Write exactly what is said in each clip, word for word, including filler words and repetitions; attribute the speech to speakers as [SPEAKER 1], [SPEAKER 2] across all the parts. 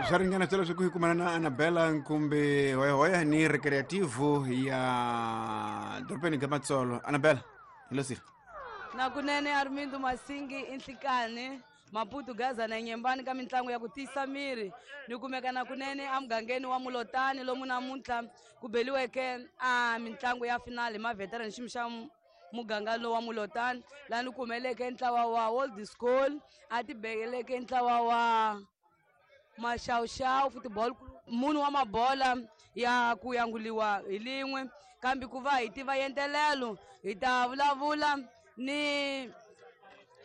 [SPEAKER 1] Swa ringana swelo swa ku hi kumana na Anabela Nkumbi hoyahoya ni Recreativo ya dorobeni ga Matsolo. Anabela, hi lo siri.
[SPEAKER 2] Na kunene Armindo Masingi inhlikani Maputo Gaza na Nyembani ka mintlangu ya ku tiyisa miri ni kumeka na kunene emugangeni wa Mulotani lomu namuntlha ku beliweke a mintlangu ya finale ma veteran xiyimo xa muganga lowu wa Mulotani laha ni kumeleke ntlawa wa Old School a tibekeleke ntlawa wa Maxawuxawu Football munhu wa mabola ya ku yanguliwa hi lin'we kambe ku va hi tiva yentelelo hi ta vulavula ni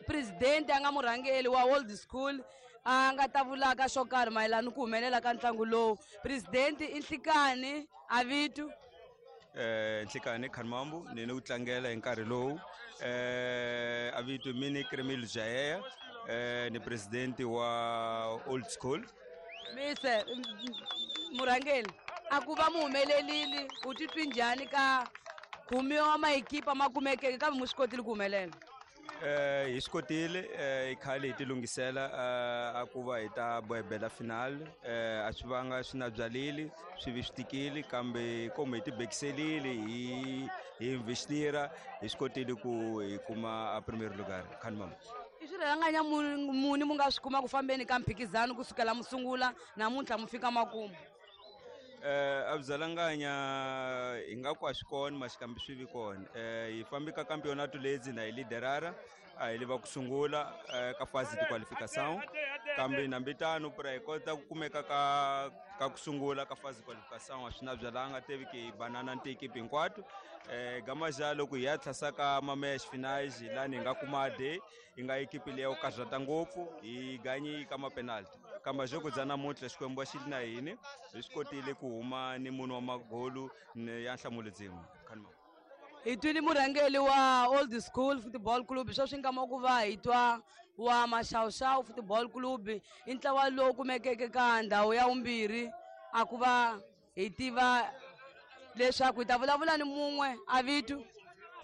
[SPEAKER 2] president a nga murhangeri wa Old School a nga ta vulaka xo karhi mayelana ku humelela ka ntlangu lowu. President i Nhlikani Avitu.
[SPEAKER 3] Eh Nhlikani Khanmambu ni ni ku tlangela hi nkarhi lowu eh Avitu mini Kremil Jayeya eh ni president wa Old School.
[SPEAKER 2] Mise murhangeri a ku va mu humelelile u titwi njhani ka khume wa maekipa ma kumekeke kambe mu swi kotile ku humelela?
[SPEAKER 3] Eh hi swi kotile eh khale hi tilunghisela a ku va hi ta bohebela final eh a swi vanga swi na byalile swi vi swi tikile kambe komu hi tibekiselile hi hi investira hi swi kotile ku hi kuma a premier lugar. Khanmam
[SPEAKER 2] i swirhanganya muni mu nga swi kuma ku fambeni ka mphikizano kusukela musungula namuntlha mu fika makumu?
[SPEAKER 3] Eh a byalanganya hi nga ku a swi kona maxikambi swi vi kona eh hi fambi ka campeonato lezi na hi liderara a hi leva ku sungula ka fase de qualificação kambe nambitano pra hi kota ku kumeka ka ka ku sungula ka fase de qualificação a swi na byalanga teve ke banana ni equipe hinkwato eh gamaja loko hi ya tlhasa ka mamesh finais lani hi nga kuma de hi nga equipe leyi yo karhata ngopfu hi ganyi ka ma penalty kamba joko dza namuntlha Xikwembu xi na hini hi swi kotile ku huma ni munhu wa magolu ya nhlamulo dzin'we.
[SPEAKER 2] Hi twile murhangeri wa Old School Football Club sweswi nkama ku va hi twa wa Maxawuxawu Football Club i ntlawa lowu kumekeke ka ndhawu ya vumbirhi a ku va hi tiva leswaku hi ta vulavula ni mun'we Avitu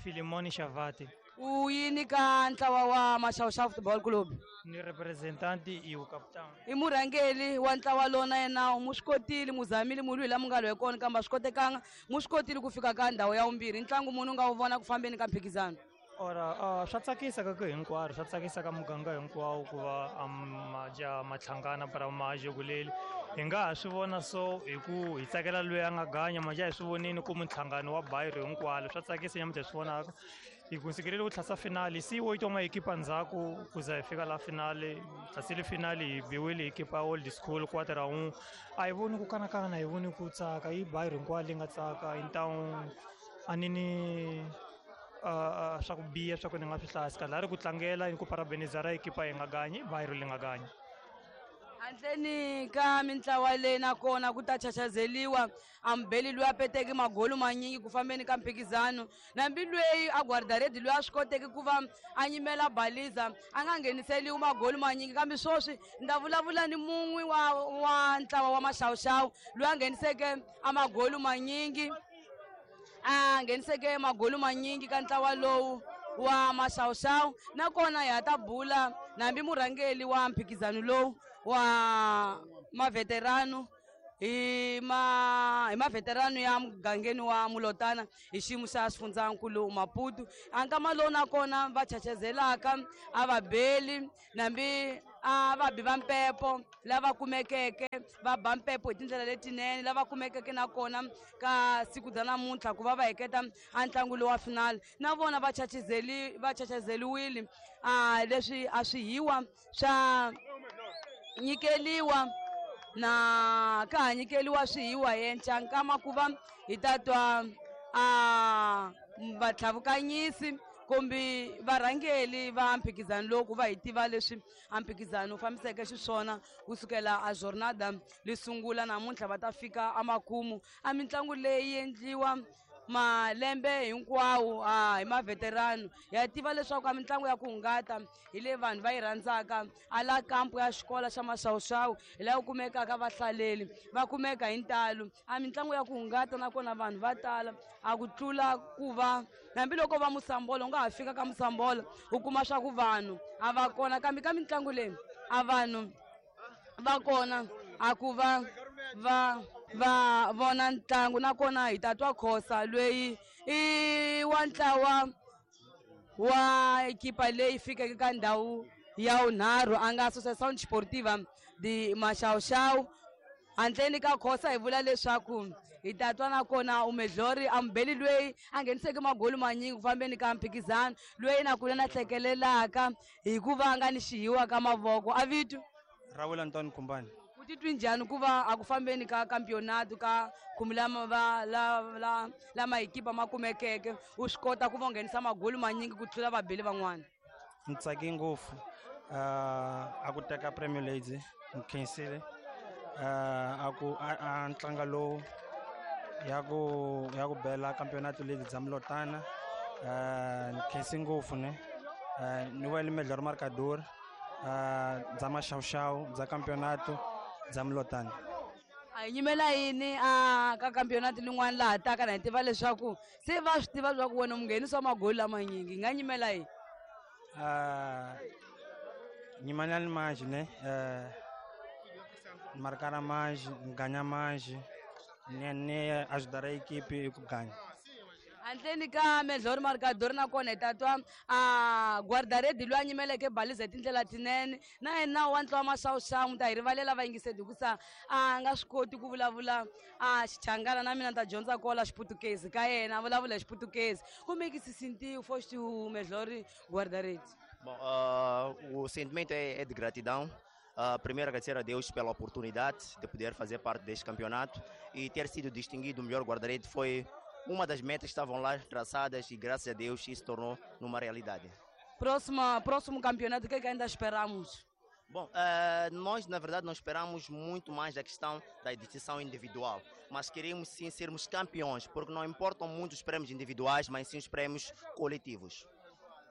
[SPEAKER 4] Filimoni Shavati.
[SPEAKER 2] U yini ka ntlawa wa Maxawuxawu Football Club?
[SPEAKER 4] Ni representanti i captain.
[SPEAKER 2] I murhangeri wa ntlawa lowu na yena mu swi kotile mu zamile mu lwi la mu nga lwe kona kambe a swi kotekanga mu swi kotile ku fika ka ndhawu ya vumbirhi. Ntlangu munhu u nga wu vona ku fambeni ka mphikizano?
[SPEAKER 4] Ora uh, swa tsakisa ka ku hinkwaro swa tsakisa ka muganga hinkwawo ku va maja matlhangana para maje kuleli hi nga ha swi vona so hi ku hi tsakela loyi a nga ganya maja hi swi vonini ku mintlhangano wa bayiro hinkwalo swa tsakisa nyamuntlha hi swi vonaka hi kunsikelele ku tlhasa finali si wo itwa maekipa ndzhaku ku za hi fika la finale tlhasile finali hi biwile ekipa Old School quarter un a hi voni ku kanakana hi voni ku tsaka i bayiro hinkwalo leyi nga tsaka hi ntawu a ni ni Uh, swa ku biha swa ku ni nga swi hlayisi kahle a ri ku tlangela ni ku parabenizara ekipa yi nga ganyi bayiro li nga ganyi.
[SPEAKER 2] Handleni ka mintlawa leyi nakona ku ta chachazeliwa ambeli loyi a peteke magolu manyingi ku fambeni ka mphikizano nambi loyi a guardaredi loyi a swi koteki ku va a nyimela baliza a nga ngheniseliwi magolu manyingi kambe sweswi ni ta vulavula ni mun'we wa wa ntlawa wa Maxawuxawu loyi a ngheniseke a magolu manyingi a ngheniseke magolu manyingi ka ntlawa lowu wa Maxawuxawu nakona hi ha ta bula nambi murhangeri wa mphikizano lowu wa maveterano hi ma hi maveterano ya mugangeni wa Mulotana hi xiyimo xa xifundzankulu Maputo a nkama lowu nakona va chachazelaka a va beli nambi a va bi va mpepo lava kumekeke va ba mpepo hi tindlela letinene lava kumekeke nakona ka siku bya namuntlha ku va va heketa a ntlangu lowu wa finale na vona va chachazeli va chachazeliwile a leswi a swi hiwa swa nyikeliwa na ka ha nyikeliwa swihiwa yenca nkama ku va hi ta twa a vatlhavukanyisi kumbe varhangeli va mphikizano lowu ku va hi tiva leswi a mphikizano wu fambiseke xiswona kusukela a jornada li sungula namuntlha va ta fika emakumu a mitlangu leyi endliwa malembe hinkwawo a hi maveterano ya tiva leswaku a mitlangu ya ku hungata hi leyi vanhu va yi rhandzaka a la kampu ya xikolo xa Maxawuxawu hi laha ku kumekaka vahlaleli va kumeka hi ntalo a mitlangu ya ku hungata nakona vanhu va tala a ku tlula ku va hambiloko va Musambolo u nga ha fika ka Musambolo u kuma swa ku vanhu a va kona kambe ka mitlangu leyi a vanhu va kona. a ku va va va vona ntlangu nakona hi ta twa Khosa loyi i wa ntlawa wa ekipa leyi fikeke ka ndhawu ya vunharhu a nga Associação Desportiva de Maxavuxavu. Handleni ka Khosa hi vula leswaku hi ta twa nakona umedlori ambeli loyi a ngheniseke magoli manyingi ku fambeni ka mphikizano loyi nakona a hlekelelaka hikuva a nga ni xihiwa ka mavoko. A vito
[SPEAKER 5] Rawula Antoine Kumbani.
[SPEAKER 2] U titwi njhani ku va a ku fambeni ka campeonato ka khume lama va la la lama ekipa ma kumekeke u swi kota ku va u nghenisa magoli manyingi ku tlula vabeli van'wana?
[SPEAKER 5] Ni tsake ngopfu a ku teka Premier League ni khensile a ku a ntlangu lowu ya ku ya ku bela campeonato league bya Mlotana ni khensi ngopfu ne ni wele melhor marcador bya Maxavuxavu bya campeonato bya Mlotana.
[SPEAKER 2] A hi nyimela yini a ka campeonato lin'wana laha taka na hi tiva leswaku se va swi tiva leswaku wena munghenisi wa magoli lamanyingi hi nga nyimela yini?
[SPEAKER 5] Nyimanani manji ne marcar mais, ganhar mais, ne ajudar a equipe e ganhar.
[SPEAKER 2] Handleni ka melhor marcador nakona hi ta twa a guarda-rede loyi a nyimeleke baliza hi tindlela tinene na yena wa ntlawa Maxavuxavu mi ta hi rivalela vayingiseri hikusa a nga swi koti ku vulavula a Xichangana na mina ni ta dyondza kola Xiputukezi ka yena a vulavula hi Xiputukezi. Como é que se sentiu foste o melhor guarda-rede?
[SPEAKER 6] Bom, uh, o sentimento é, é de gratidão. Uh, primeiro, agradecer a Deus pela oportunidade de poder fazer parte deste campeonato e ter sido distinguido o melhor guarda-redes foi uma das metas que estavam lá traçadas e, graças a Deus, isso tornou numa realidade.
[SPEAKER 2] Próxima, próximo campeonato, o que é que ainda esperamos?
[SPEAKER 6] Bom, uh, nós, na verdade, não esperamos muito mais da questão da distinção individual, mas queremos sim sermos campeões, porque não importam muito os prêmios individuais, mas sim os prêmios coletivos.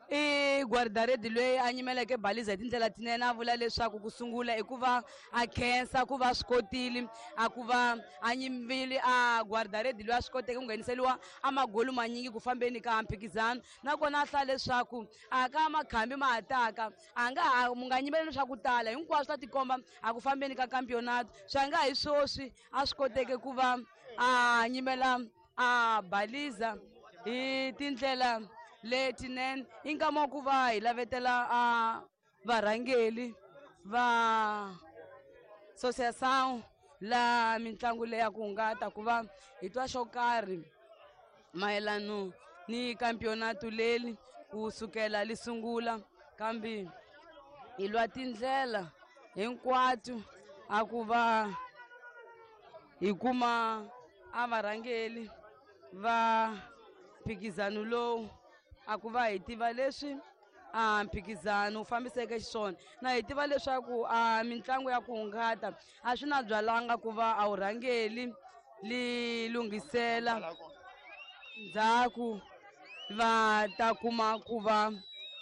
[SPEAKER 2] I guarda-rede loyi a nyimeleke baliza hi tindlela tinene a vula leswaku ku sungula i ku va a khensa ku va swi kotile a ku va a nyimbile a guarda-rede loyi a swi koteke ku ngheniseriwa a magoli manyingi ku fambeni ka mphikizano nakona a hlaya leswaku a ka makhambi ma ha taka a nga ha mu nga nyimeleli swa ku tala hinkwaswo ta tikomba a ku fambeni ka campeonato swi nga hi swoswi a swi koteke ku va a nyimela a baliza hi tindlela letinene. I nkama wa ku va hi lavetela a varhangeli va associação la mitlangu leyi ya ku hungata ku va hi twa xo karhi mayelano ni campeonato leri ku sukela li sungula kambe hi lwa tindlela hinkwato a ku va hi kuma a varhangeli va mphikizano lowu a ku va hi tiva leswi a mphikizano wu fambiseke xiswona na hi tiva leswaku a mitlangu ya ku hungata a swi na byalanga ku va a wu rhangeli li lunghisela ndzhaku va ta kuma ku va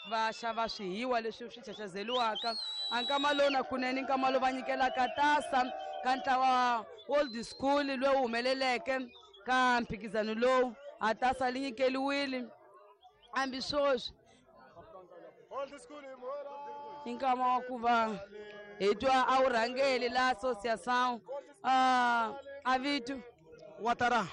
[SPEAKER 2] va xava swihiwa leswi swi chachazeliwaka. A nkama lowu na kunene nkama lowu va nyikelaka tasa ka ntlawa old school lowu humeleleke ka mphikizano lowu a tasa li nyikeliwile hambi swoswi i nkama wa ku va hi twa a wu rhangeli la associação a vito
[SPEAKER 7] Watara.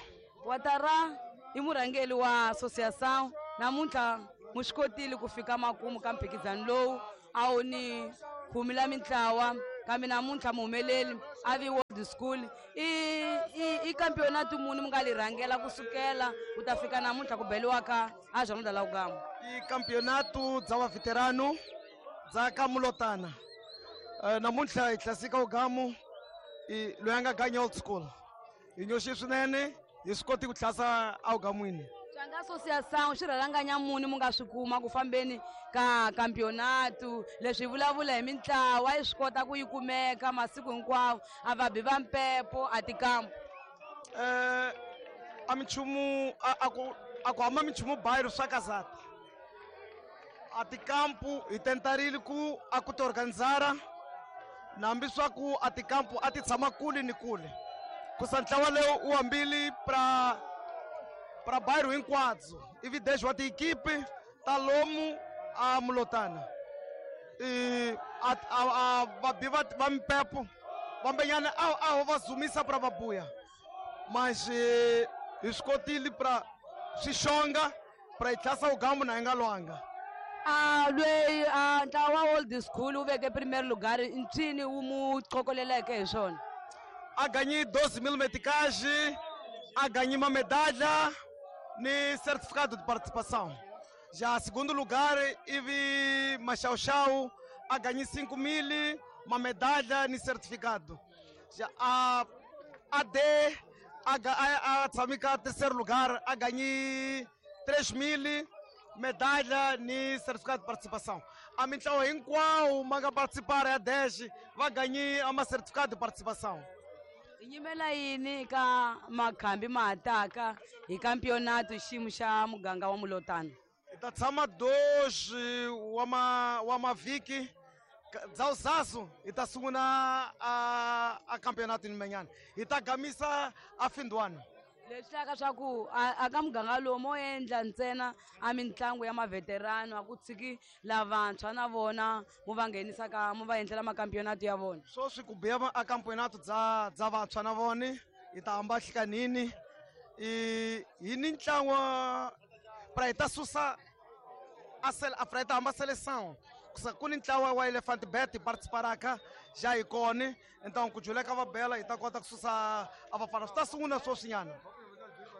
[SPEAKER 2] Watara i murhangeli wa associação namuntlha mu swi kotile ku fika makumu ka mphikizano lowu a wu ni khume la mintlawa kambe namuntlha muhumeleli a vi World School i i i campeonato muni mi nga li rhangela kusukela ku ta fika namuntlha ku beliwaka a Jornada la Ugamba?
[SPEAKER 7] I campeonato dza va veterano dza ka Mulotana. Uh, namuntlha hi hlasika Ugamu i loyi a nga ganya old school. Hi nyoxi swinene hi swi koti ku hlasa Ugamwini.
[SPEAKER 2] Swa nga associação xi rhalanganya muni mu nga swi kuma ku fambeni ka campeonato leswi vulavula hi mintlawa yi swi kota ku yi kumeka masiku hinkwawo a va bi va mpepo a tikampu.
[SPEAKER 7] Eh a minchumu a ku a ku hama minchumu bairro swa kazata a tikampu hi tentarile ku a ku ti organizara nambi swa ku a tikampu a ti tshama kule ni kule kusa ntlawa lowu wu hambile pra para bairro hinkwadzo ivi dez wa tiequipe ta lomu a Mulotana e a a vabi va va mpepo Vambenyana a a va zumisa pra vabuya. Mas hi swi kotile pra swi xonga pra hi tlhasa ugambu na hi nga lwanga.
[SPEAKER 2] A lweyi a ntlawa old school wu veke primeiro lugar ncini wu mu qokoleleke hi swona.
[SPEAKER 7] A ganhei doze mil meticais, a ganhei uma medalha ni certificado de participação. Já segundo lugar, Ivi Machau a ganhei cinco mil, uma medalha ni certificado. Já a A D, a a, a Tsamika terceiro lugar, a ganhei três mil, medalha ni certificado de participação. A minha em qual manga participar é a dez, vai ganhar uma certificado de participação.
[SPEAKER 2] Nyimela yini ka makhambi ma hataka hi campeonato xiyimo xa muganga wa Mulotana?
[SPEAKER 7] Hi ta tshama dois wa ma wa mavhiki dzawuzazu hi ta sungula a a campeonato nimenyana hi ta gamisa a findwana.
[SPEAKER 2] Leswi hlaka swa ku a ka muganga lowu mo endla ntsena a mitlangu ya maveterano a ku tshiki lavantshwa na vona mo va nghenisa ka mo va endlela makampeonato ya vona.
[SPEAKER 7] Sweswi ku biya a campeonato dza dza vantshwa na vona hi ta hamba hlikanini i hi ni ntlangu pra hi ta susa a sel a pra hi ta hamba seleção ku ni ntlawa wa Elephant Bet participaraka já hi kona então ku juleka va bela hi ta kota ku susa a vafana swi ta sungula sweswinyana.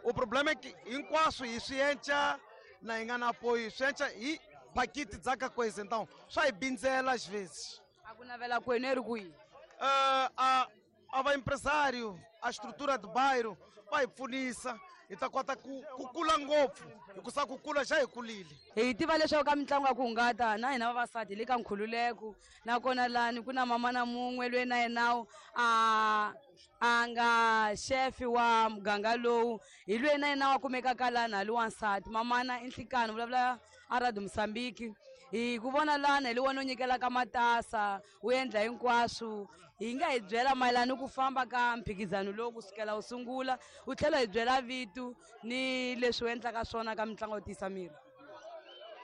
[SPEAKER 7] O problema é que hinkwaswo hi swi enca na hi nga na apoio swi enca hi pakiti dza ka coisa então swa hi bindzela às vezes.
[SPEAKER 2] A ku navela kwenu i ri kwihi?
[SPEAKER 7] Uh, a a va empresário a estrutura do bairro va hi pfunisa hi ta kota ku ku kula ngopfu hikusa ku kula xa hi kulile.
[SPEAKER 2] Hi tiva leswaku ka mitlangu ya ku hungata na hina vavasati hi le ka nkhululeko nakona lani ku na mama na mun'we loyi na yenawu a a nga xefi wa muganga lowu hi loyi na yena wa kumekaka lani hali wansati mamana i Nhlikani vulavula a Radio Mozambique. Hi ku vona lana hi le wona u nyikelaka matasa wu endla hinkwaswo hi nga hi byela mayelana ku famba ka mphikizano lowu kusukela wu sungula u tlhela hi byela vito ni leswi u endlaka swona ka mitlangu yo tiyisa miri.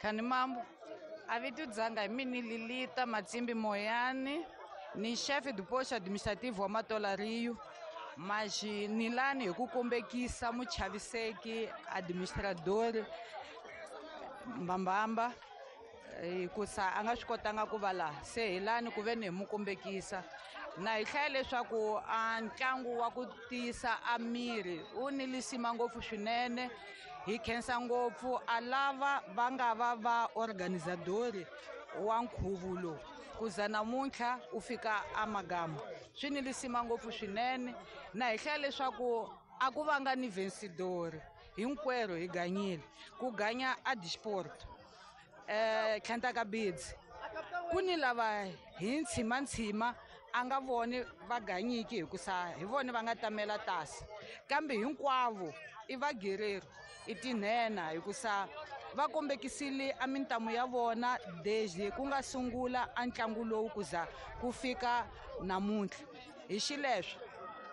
[SPEAKER 8] Khani mambo a vito dzanga hi mini Lilita Matsimbi Moyani ni chefe do posto administrativo wa Matola Rio mas ni lani hi ku kombekisa muchaviseki administrador Mbambamba hikusa a nga swi kotanga ku va laha se hi lani ku ve ni hi mu kombekisa na hi hlaya leswaku a ntlangu wa ku tiyisa a miri wu ni lisima ngopfu swinene hi khensa ngopfu a lava va nga va va organizadori wa nkhuvo lowu ku za namuntlha u fika a Magama swi ni lisima ngopfu swinene na hi hlaya leswaku a ku vanga ni vencedor hinkwerhu hi ganyile ku ganya a disport eh tlhantaka bidzi ku ni lava hi ntshima a nga voni va ganyiki hikusa hi vona va nga tamela tasi kambe hinkwavo i vagereri i tinhena hikusa va kombekisile a mintamu ya vona desde ku nga sungula a ntlangu lowu ku za ku fika namuntlha hi xileswo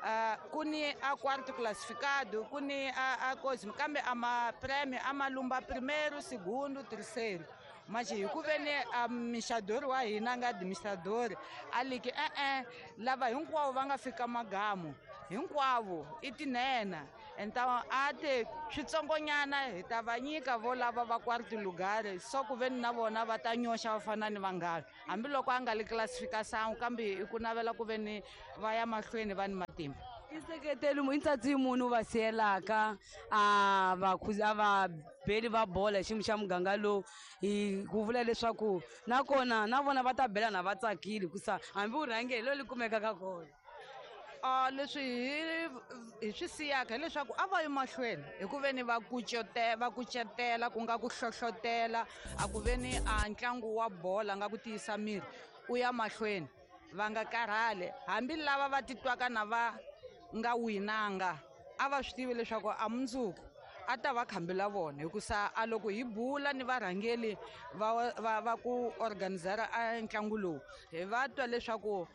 [SPEAKER 8] Uh, ku ni a quarto classificado ku ni a, a cosmo kambe a ma prêmio a malumba primeiro segundo terceiro mas hi ku ve ni a mixadori wa hina nga administrador a liki e-e lava hinkwavo va nga fika magamu hinkwavo i tinhena então a te switsongonyana hi ta va nyika vo lava va quarto lugar so ku ve ni na vona va ta nyoxa va fana ni vanghana hambiloko a nga li classification kambe i ku navela ku ve ni va ya mahlweni va ni matimba.
[SPEAKER 2] I nseketelo i ntsatsi munhu va siyelaka a va a va beli va bola hi xiyimo xa muganga lowu hi ku vula leswaku nakona na vona va ta bela na va tsakile hikusa hambi u rhange hi lo li kumekaka kona.
[SPEAKER 8] Uh, leswi hi hi swi siyaka hileswaku a va yi mahlweni hi ku ve ni va kucete va kucetela ku nga ku hlohlotela a ku ve ni a ntlangu wa bola nga ku tiyisa miri u ya mahlweni va nga karhali hambi lava va titwaka na va nga winanga a va swi tivi leswaku a mundzuku a ta va khambela vona hikusa a loko hi bula ni varhangeli va va va ku organizera a ntlangu lowu hi va twa leswaku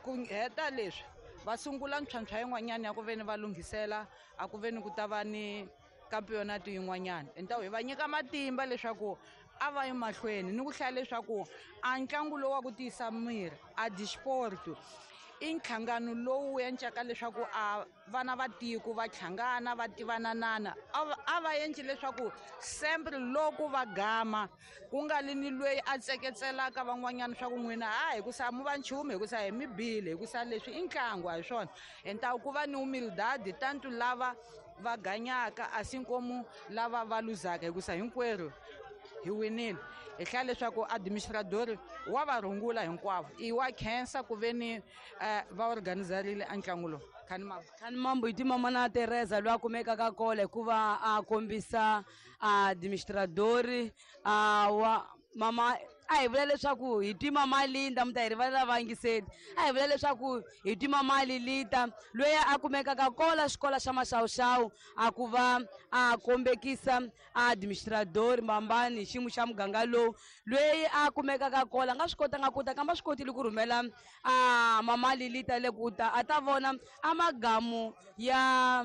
[SPEAKER 8] ku heta leswi va sungula ntlhantlha yin'wanyana ya ku ve ni va lunghisela a ku ve ni ku ta va ni campeonato yin'wanyana então hi va nyika matimba leswaku a va yi mahlweni ni ku hlaya leswaku a ntlangu lowu wa ku tiyisa miri a disport I nhlangano lowu endlaka leswaku a vana va tiko va hlangana va tivananana a va endli leswaku sempre loko va gama ku nga li ni lweyi a tseketselaka van'wanyana swa ku n'wina ha hi ku sa mu va nchumu hi ku sa hi mi bile hi ku sa leswi i ntlangu a hi swona entaku ku va ni humildade tanto lava va ganyaka a si nkomu lava va luzaka hi ku sa hinkwerhu hi winile hi hlaya leswaku administrador wa va rungula hinkwavo i wa khensa ku ve ni va organizarile a ntlangu lowu.
[SPEAKER 2] Khani mambo hi timama na Teresa loyi a kumekaka kona hikuva a kombisa administrador a wa mama a hi vula leswaku hi twi mama Linda mi ta hi rivalela vayingiseli a hi vula leswaku hi twi mama Lilita loyi a kumekaka kola xikolo xa Maxawuxawu a ku va a kombekisa administrador Mambani hi xiyimo xa muganga lowu loyi a kumekaka kola a nga swi kotanga ku ta kambe a swi kotile ku rhumela a mama Lilita le ku ta a ta vona a magamu ya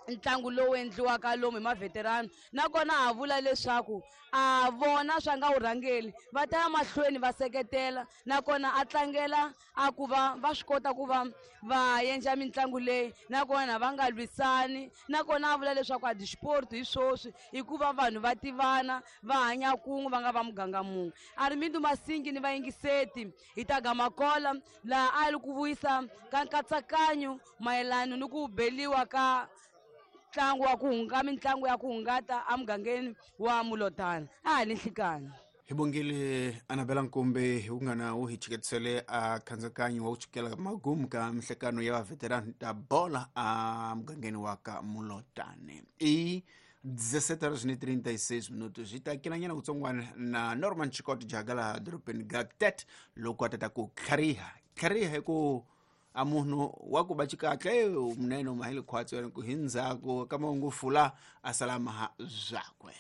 [SPEAKER 2] ntlangu lowu endliwaka lomu hi maveterano nakona ha vula leswaku a vona swa nga wu rhangeli va ta ya mahlweni va seketela nakona a tlangela a ku va va swi kota ku va va endla mitlangu leyi nakona va nga lwisani nakona a vula leswaku a disport hi swoswi hikuva vanhu va tivana va hanya kun'we va nga va muganga mun'we. Armindo Masingi ni vayingiseti hi ta gamakola laha a li ku vuyisa ka nkatsakanyo mayelana ni ku beliwa ka ntlangu wa ku hunga mitlangu ya ku hungata emugangeni wa Mulotana a ha ni nhlikani.
[SPEAKER 1] Hi bongile Anabela Nkumbi hi ku nga na wu hi chiketisele a khandzakanya wa ku chikela magumu ka mihlekano ya vaveterani ta bola a mugangeni wa ka Mulotane. I dezessete horas e trinta e seis minutos hi ta kelanyana kutsongwana na Norman Chikoti Jagala dorobeni ga Tet loko a tata ku tlhariha tlhariha hi ku a munhu wa ku ba xikahle munene mahile khwatsi ku hi ndzhaku ka mahungu fula a sala maha zwakwe.